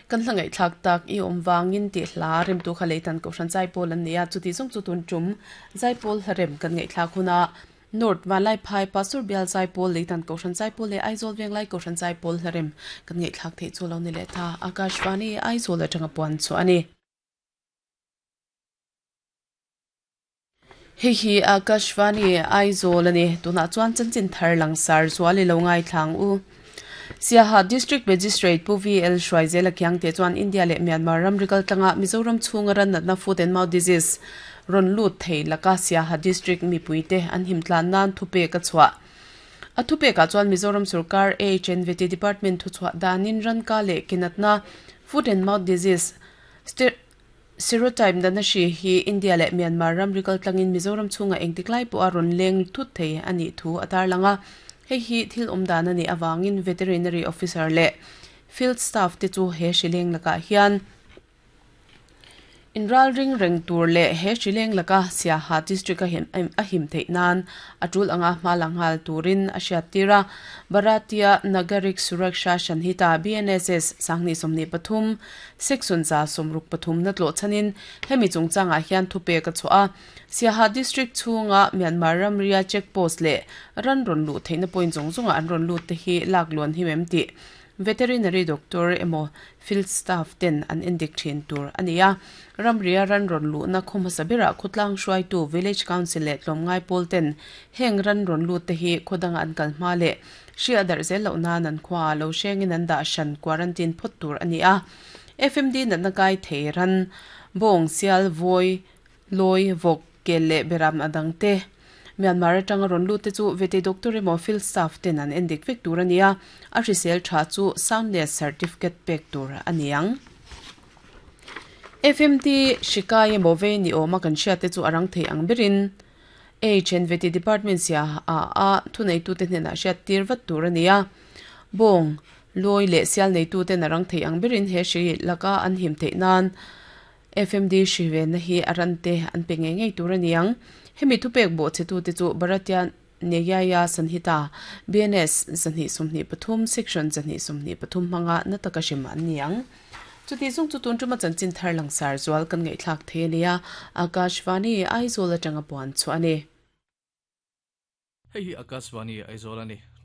Kan hla ngaihthlak tak i awm vangin tih hla remtu kha Leitan Kohhran Zaipawl an nei a, chuti zawng chu tun tum Zaipawl hla rem kan ngaihthlak huna North Vanlaiphai Pastor Bial Zaipawl Leitan Kohhran Zaipawl leh Aizawl Venglai Kohhran Zaipawl hla rem kan ngaihthlak theih chu lo ni leh ta. Akashvani Aizawl atanga puan chhuah a ni. Hei hi Akashvani Aizawl a ni. Tunah chuan chanchin thar langsar zual i lo ngaithlang u. Siaha District Magistrate Pu VL Hruaizela Khiangte chuan India leh Myanmar ramri kaltlanga Mizoram chhunga ran natna Foot and Mouth Disease rawn lut thei laka Siaha District mipuite an himtlan nan thupek a chhuah. A thupekah chuan Mizoram sorkar AHNVT Department thuchhuah danin ranka leh ke natna Foot and Mouth Disease Serotype natna hri hi India leh Myanmar ramri kaltlangin Mizoram chhungah engtik lai pawha rawn leng thut thei a nih thu a tarlang a. Hei hi thil awm dan a nih avangin Veterinary Officer leh Field Staff te chu he hri leng lakah hian inralring reng tur leh he hri leng laka Siaha District a a him theih nan a tul anga hma la nghal turin a hriattir a. Bharatiya Nagarik Suraksha Sanhita, BNSS, 2023, Section 163 na tlawh chhanin hemi chungchangah hian thupek a chhuah a. Siaha District chhunga Myanmar ramria check post leh ran rawn luh theihna point zawng zawngah an rawn lut te hi lak luan him em tih Veterinary Doctor emaw Field Staff ten an endik thin tur a ni a. Ramria ran rawn luhna khaw hmasa berah khawtlang hruaitu Village Council leh tlawmngai pawl ten heng ran rawn lut te hi khaw danga an kal hma leh Hri a darh zel loh nan an khua ah lo hrengin an dah hran quarantine phawt tur a ni a. FMD natna kai thei ran, bawng, sial, vawi, lawi, vawk, kel leh beram a dang te. Myanmar atanga rawn lut te chu vete doctor emaw field staff ten an endik vek tur a ni a, a hrisel tha chu soundness certificate pek tur a ni ang. FMD hri kai emaw vei ni awma kan hriat te chu a rang thei ang berin HNVT Department sia a a thuneitute hnenah hriat tir vat tur a ni a. Bawng, lawi leh sial neituten a rang thei ang berin he hri laka an him theih nan FMD hri venna hi a rante an pe ngei ngei tur a ni ang. Hemi thupek bawhchhetute chu Bharatiya Nyaya Sanhita, BNS, 223, Section 223 hmanga na taka hrim an ni ang. Chuti zung chu tun tuma chanchin thar langsar zual kan ngaihthlak thei a nia, Akashvani Aizawl atanga puan chhuah a ni. Hei hi Akashvani Aizawl a ni.